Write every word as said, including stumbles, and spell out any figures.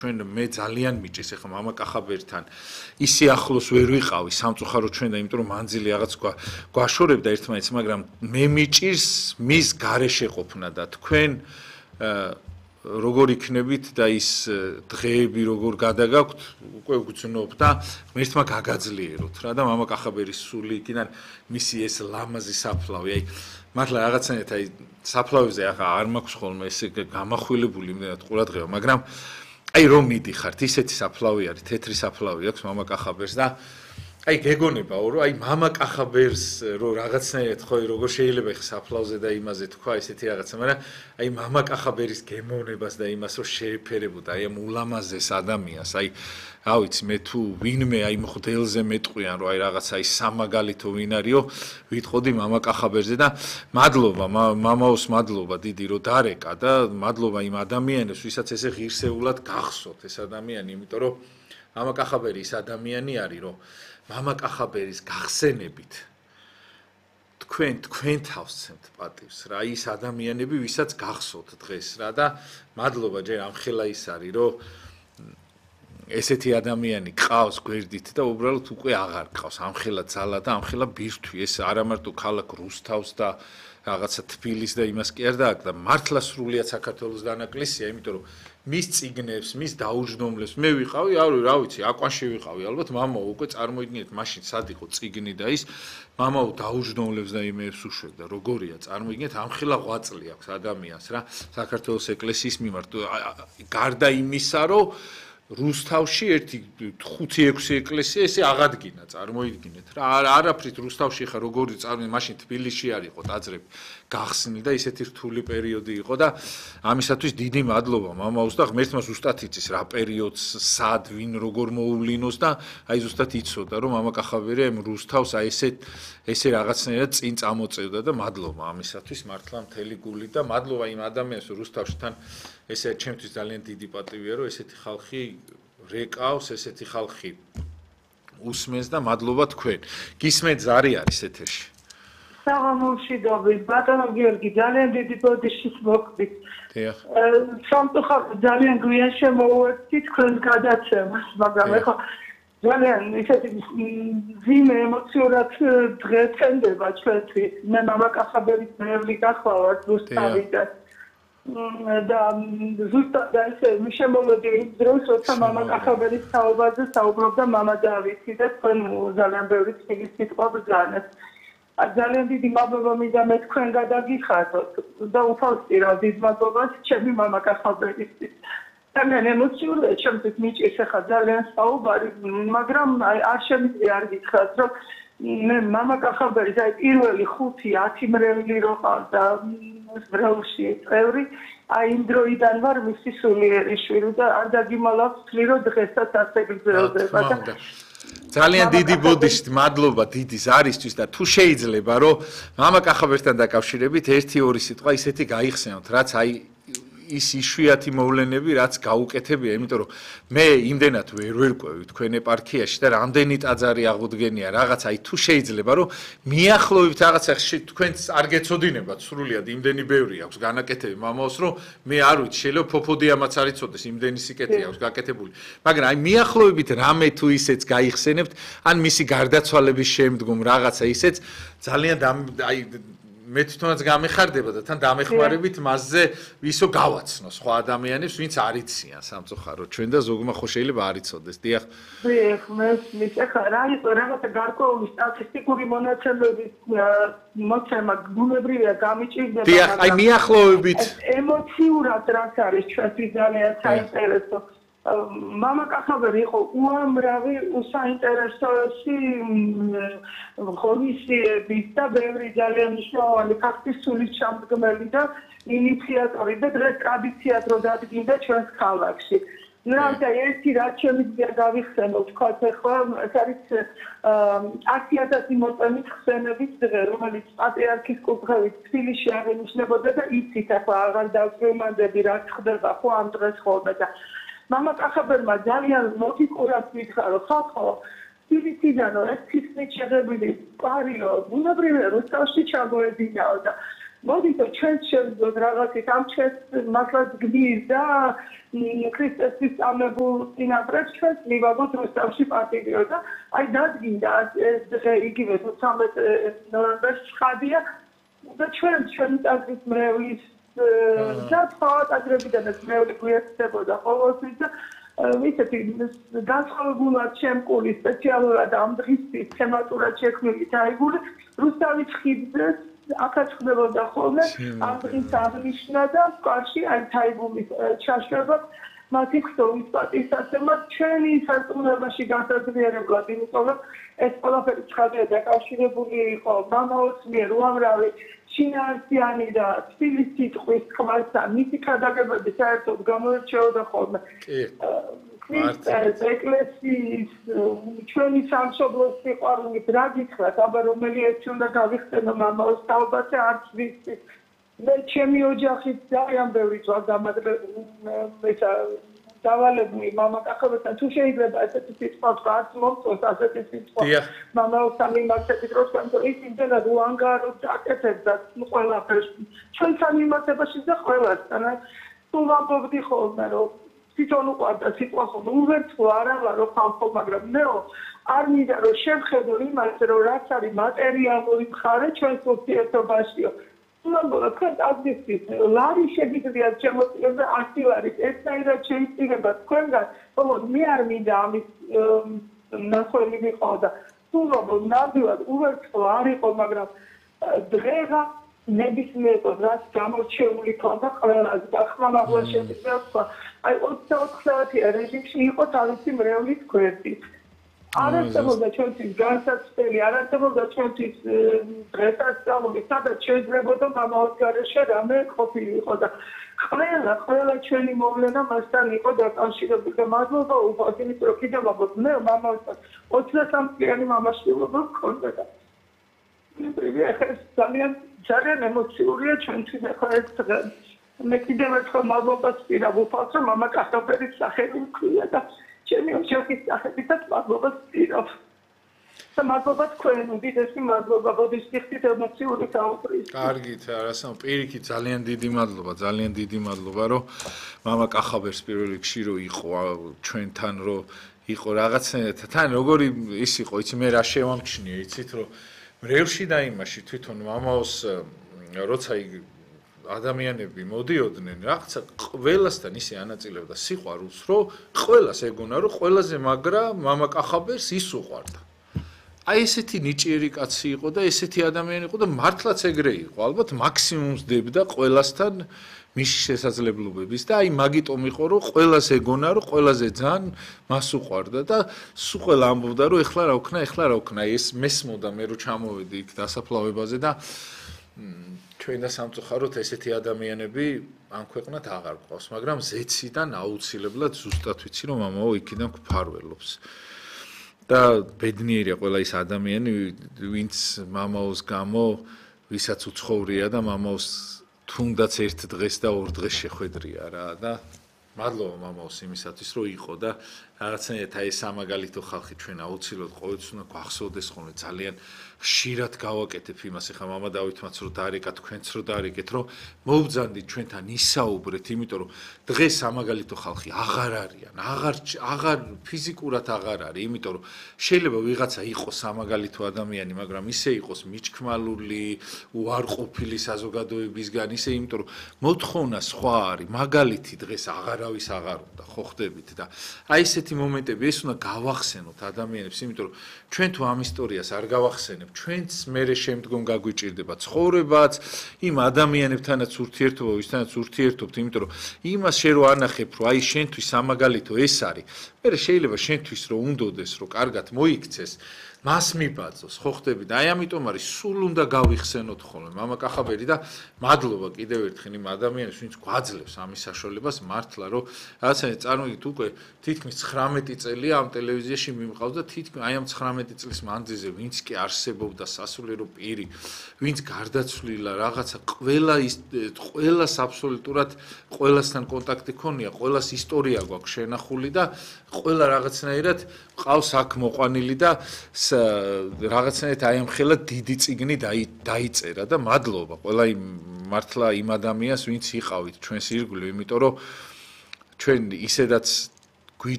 ჩვენ მე ძალიან მიჭის ეხლა მამა კახაბერთან ისე ახლოს ვერ ვიყავი სამწუხაროდ ჩვენ და იმიტომ რომ მანძილი რაღაც გვაშორებდა ერთმანეთს მაგრამ მე მიჭირს მის გარეშე ყოფნა და თქვენ როგორ იქნებით და ის დღეები როგორ გადაგაქვთ უკვე გძნობ და მერთმა გაგაძლიეროთ რა და მამა კახაბერის სული იქიდან მისი ეს ლამაზი საფლავი აი მართლა რაღაცნაირად აი საფლავზე ახლა არ მაქვს ხოლმე ესე გამახვილებული იმდენად ყურადღება მაგრამ აი რომ მიდიხართ ისეთი საფლავი არის თეთრი საფლავი აქვს მამა კახაბერს და აი გეგონება რომ აი მამა კახაბერს რომ რაღაცნაირად ხო როგორ შეიძლება ხ საფლავზე და იმაზე თქვა ესეთი რაღაცა მაგრამ აი მამა კახაბერის გემოვნებას და იმას რომ შეეფერებოდა აი ამ ულამაზეს ადამიანს აი რა ვიცი მე თუ ვინმე აი მხდელზე მეტყვიან რომ აი რაღაცა ის სამაგალითო ვინ არისო ვიტყოდი მამა კახაბერზე და მადლობა მამაოს მადლობა დიდი რომ დარეკა და მადლობა იმ ადამიანებს ვისაც ესე ღირსეულად გახსოვთ ეს ადამიანი იმიტომ რომ მამა კახაბერი ის ადამიანი არის რომ მამა კახაბერის გახსენებით თქვენ თქვენ თავს ცემთ პატივს რა ის ადამიანები ვისაც გახსოვთ დღეს რა და მადლობა ჯერ ამხელა ის არის რომ ესეთი ადამიანი ყავს გვერდით და უბრალოდ უკვე აღარ ყავს ამხელა ძალა და ამხელა ბირთვი ეს არა მარტო ქალაქ რუსთავს და რაღაცა თბილის და იმას კი არ დააკდა მართლა სრულიად საქართველოს დანაკლისია იმიტომ რომ მის ციგნებს მის დაუჯდომლებს მე ვიყავი რა ვიცი აკვანში ვიყავი ალბათ მამა უკვე წარმოიდგინეთ მაშინ სად იყო ციგნი და ის მამაო დაუჯდომლებს და იმეებს უშვებდა როგორია წარმოიდგინეთ ამხელა ღვაწლი აქვს ადამიანს რა საქართველოს ეკლესიის მიმართ გარდა იმისა რომ რუსთავში ერთი ხუთი ექვსი ეკლესია ესე აღადგინა წარმოიდგინეთ რა არაფრით რუსთავში ხა როგორი წარმოი მაშინ თბილისში არ იყო დაძრები გახსნილი და ისეთი რთული პერიოდი იყო და ამისათვის დიდი მადლობა მამაოს და ღმერთმა ზუსტად იცის რა პერიოდს სად ვინ როგორ მოუვლინოს და აი ზუსტად იცოდა რომ მამა კახაბერი ამ რუსთავს აი ესე ესე რაღაცნაირად წინ წამოწევდა და მადლობა ამისათვის მართლა მთელი გულით და მადლობა იმ ადამიანს რუსთავში თან ესე ჩემთვის ძალიან დიდი პატივია რომ ესეთი ხალხი რეკავს ესეთი ხალხი უსმენს და მადლობა თქვენ გისმენთ ზარი არის ეთერში საღამოშიდობით ბატონო გიორგი ძალიან დიდი ბოდიშით მოკვდით დიახ სამწუხაროდ ძალიან გვიან შემოვეცდი თქვენს გადაცემას მაგრამ ეხლა ძალიან ისეთი ძიმე ემოციურად დღე წენდება ჩვენთვის მე მამა კახაბერის მერვი გახლავართ რუსთავი და და ზუსტად ესე შემოვედი იმ დროს როცა მამა კახაბერის თაობაზე საუბრობდა მამა დავითი და თქვენ ძალიან ბევრი წიგნის სიტყვა ბრძანეთ ძალიან დიდი მადლობა მინდა მე თქვენ გადაგიხადოთ და უფალსტირავ დიდ მადლობას ჩემი მამა კახაბერისთვის ძალიან ემოციურია ჩემთვის მიჭირს ახლა ძალიან საუბარი მაგრამ არ შემიძლია არ გითხრათ რომ მე მამა კახაბერის აი პირველი ხუთი ათი მრევლი რო ყავდა ბრალში წევრი აი იმ დროიდან ვარ მისი სულიერი შვილი და არ დაგიმალავთ თვლი რომ დღესაც ასე გრძელდება და ძალიან დიდი ბოდიშით მადლობა დიდი ზარისთვის და თუ შეიძლება რომ მამა კახაბერთან დაკავშირებით ერთი ორი სიტყვა ისეთი გაიხსენოთ რაც აი ის იშვიათი მოვლენები რაც გაუკეთებია იმიტომ რომ მე იმდენად ვერ ვერკვევი თქვენ ეპარქიაში და რამდენი ტაძარი აღუდგენია რაღაც აი თუ შეიძლება რომ მიახლოვებით რაღაცა თქვენც არ გეცოდინებათ სრულიად იმდენი ბევრი აქვს განაკეთები მამაოს რომ მე არ ვიცი შეიძლება ფოფოდიამაც არ იცოდეს იმდენი სიკეთე აქვს გაკეთებული მაგრამ აი მიახლოვებით რამე თუ ისეც გაიხსენებთ ან მისი გარდაცვალების შემდგომ რაღაცა ისეც ძალიან აი მე თვითონაც გამეხარდება და თან დამეხმარებით მასზე ისო გავაცნო სხვა ადამიანებს ვინც არ იციან სამწუხაროდ ჩვენ და ზოგმა ხო შეიძლება არ იცოდეს დიახ დიახ მე მისახა რა იყო რაღაცა გარკვეული სტატისტიკური მონაცემების მოცემა გუნებრივია გამიჭირდება დიახ აი მიახლოვებით ემოციურად რაც არის ჩვენთვის ძალიან საინტერესო მამა კახაბერი იყო უამრავი საინტერესოში ღონისძიების და ბევრი ძალიან მნიშვნელოვანი ფაქტის სულით ჩამდგმელი და ინიციატორი და დღეს ტრადიციად რო დადგინდა ჩვენს ქალაქში. ნუ ერთი რაც შემიძლია გავიხსენოთ თქვათ ახლა ეს არის ათი ათასი მოწამით ხსენების დღე რომელიც პატრიარქის კურთხევით თბილისში აღინიშნებოდა და იცით ახლა აღარ დავწევმანდები რაც ხდება ხო ამ დღეს ხოლმე და მამა კახაბერმა ძალიან ლოგიკურად მითხრა რომ ხალხო თბილისიდანო ეს ფიქრით შეღებილი პარიო ბუნებრივია რუსთავში ჩამოედინაო და მოდით ჩვენ შევძოთ რაღაცით ამ ჩვენს მართლაც გმირს და ქრისტესთვის წამებულ წინაპრებს ჩვენს მივაგოთ რუსთავში პატიო და აი დადგინდა ეს დღე იგივე თორმეტ ნოემბერს ხადია და ჩვენ ჩვენი ტაძრის მრევლის და სხვა ტაძრებიდანაც მრევლი გვიერთდებოდა ყოველთვის და ვიცით განსხვავებულად შემკული სპეციალურად ამ დღისთვის თემატურად შექმნილი დაიგული რუსთავის ხიდზე აქაც ხდებოდა ხოლმე ამ დღის აღნიშვნა და კარში აი თაიგულის ჩაშვება მათი ხსოვნის პატივსაცემად ჩვენი სარწმუნოებაში განსაზღვრებლად იმიტომ რომ ეს ყველაფერი ცხადია დაკავშირებული იყო მამაოს მიერ უამრავი შინაარსიანი და თბილის სიტყვის თქმასთან მისი ქადაგებები საერთოდ გამოირჩეოდა ხოლმე ქრისტეს ეკლესიის ჩვენი სამშობლოს სიყვარულით რა გითხრათ აბა რომელი ერთი უნდა გავიხსენო მამაოს თაობაზე არც ვიცი მე ჩემი ოჯახით ძალიან ბევრი ძვა გამაგრებული დავალებული მამაკაცებთან თუ შეიძლება ესეთი სიტყვა არც მომწონს ასეთი სიტყვა მამაოსთან მიმართებით რომ თქვენ ის იმდენად უანგაროდ აკეთებდა ყველაფერს ჩვენთან მიმართებაში და ყველასთან თუ ვამბობდი ხოლმე რომ თვითონ უყვარდა სიტყვა ხოლმე უვერთხო არა ვარო ხალხო მაგრამ მეო არ მინდა რომ შევხედო იმას რომ რაც არის მატერიალური მხარე ჩვენს ურთიერთობაშიო Number of countries, Larry Shakespeare, Chemotherapy, artillery, etc. Change but Quenga, oh, me are me down, Nasolim order. Two Nabu, Uber, Solari, Omagram, Drega, Nebismet, or that Camel Chemly contact, as Bachman was I also clarity arranging she got a similarly squarely. Arătăm de ce înțeles gansa steli, arătăm de ce înțeles dresa stau, mi s-a dat ce trebuie mama o care și rame copilul hoda. Хвала, хвала ჩვენი მოვლენა მასთან იყო დაკავშირებული და მადლობა უპატიმის რო კიდევ ვაბოთ მე მამასთან ოცდასამი წლიანი მამაშვილობა მქონდა და ეს ძალიან ძალიან ემოციურია ჩვენთვის ახლა ეს დღე მე კიდევ ერთხელ მადლობას ვსვირა უპატრო მამა კახაბერის სახელი მქვია და ჩემი ოჯახის სახელითაც მადლობას ვსვირობ და მადლობა თქვენ უდიდესი მადლობა ბოდიშტიხით ემოციური საუბრის. კარგით, არასამ პირიქით ძალიან დიდი მადლობა, ძალიან დიდი მადლობა, რომ მამა კახაბერს პირველ რიგში რო იყო ჩვენთან რო იყო რაღაცნაირად თან როგორი ის იყო, იცი მე რა შევამჩნიე, იცით რომ მრევლში და იმაში თვითონ მამაოს როცა ადამიანები მოდიოდნენ, რაღაცა ყველასთან ისე ანაწილებდა სიყვარულს, რომ ყველას ეგონა, რომ ყველაზე მაგრა მამა კახაბერს ის უყვარდა. აი ესეთი ნიჭიერი კაცი იყო და ესეთი ადამიანი იყო და მართლაც ეგრე იყო. ალბათ მაქსიმუმს დებდა ყველასთან მის შესაძლებლობების და აი მაგიტომ იყო რომ ყველას ეგონა რომ ყველაზე ძალიან მას უყვარდა და სულ ყველა ამბობდა რომ ეხლა რა ვქნა, ეხლა რა ვქნა. ეს მესმოდა მე რო ჩამოვედი იქ დასაფლავებაზე და ჩვენ და სამწუხაროდ ესეთი ადამიანები ამ ქვეყნად აღარ გვყავს, მაგრამ ზეციდან აუცილებლად ზუსტად ვიცი რომ მამაო იქიდან გვფარველობს. და ბედნიერია ყველა ის ადამიანი, ვინც მამაოს გამო, ვისაც უცხოვრია და მამაოს თუნდაც ერთ დღეს და ორ დღეს შეხვედრია რა და მადლობა მამაოს იმისათვის, რომ იყო და რაღაცნაირად აი სამაგალითო ხალხი ჩვენ აუცილებლად ყოველთვის უნდა გვახსოვდეს ხოლმე ძალიან ხშირად გავაკეთებ იმას, ეხლა მამა დავითმაც რო დაარეკა, თქვენც რო დაარეკეთ, რომ მოუბძანდით ჩვენთან ისაუბრეთ, იმიტომ რომ დღეს სამაგალითო ხალხი აღარ არიან, აღარ აღარ ფიზიკურად აღარ არის, იმიტომ რომ შეიძლება ვიღაცა იყოს სამაგალითო ადამიანი, მაგრამ ისე იყოს მიჩქმალული, უარყოფილი საზოგადოებისგან, ისე იმიტომ რომ მოთხოვნა სხვა არის, მაგალითი დღეს აღარავის აღარ უნდა, ხო ხდებით და აი ესეთი მომენტები ეს უნდა გავახსენოთ ადამიანებს, იმიტომ რომ ჩვენ თუ ამ ისტორიას არ გავახსენებთ ჩვენც მერე შემდგომ გაგვიჭირდება ცხოვრებაც, იმ ადამიანებთანაც ურთიერთობა, ვისთანაც ურთიერთობთ, იმიტომ რომ იმას შენ რო ანახებ, რომ აი შენთვის სამაგალითო ეს არის, მერე შეიძლება შენთვის რო უნდოდეს, რომ კარგად მოიქცეს, მას მიბაძოს, ხო ხდები და აი ამიტომ არის სულ უნდა გავიხსენოთ ხოლმე მამა კახაბერი და მადლობა კიდევ ერთხელ იმ ადამიანებს, ვინც გვაძლევს ამის საშუალებას მართლა, რომ რაღაცა წარმოგიდგეთ უკვე თითქმის ცხრამეტი წელია ამ ტელევიზიაში მიმყავს და თითქმის აი ამ ცხრამეტი წლის მანძილზე ვინც კი არსებობდა სასულიერო პირი, ვინც გარდაცვლილა, რაღაცა ყველა ის ყველას აბსოლუტურად ყველასთან კონტაქტი ქონია, ყველას ისტორია გვაქვს შენახული და ყველა რაღაცნაირად ყავს აქ მოყვანილი და რაღაცნაირად აი ამ ხელა დიდი წიგნი დაიწერა და მადლობა ყველა იმ მართლა იმ ადამიანს ვინც იყავით ჩვენს ირგვლივ, იმიტომ რომ ჩვენ ისედაც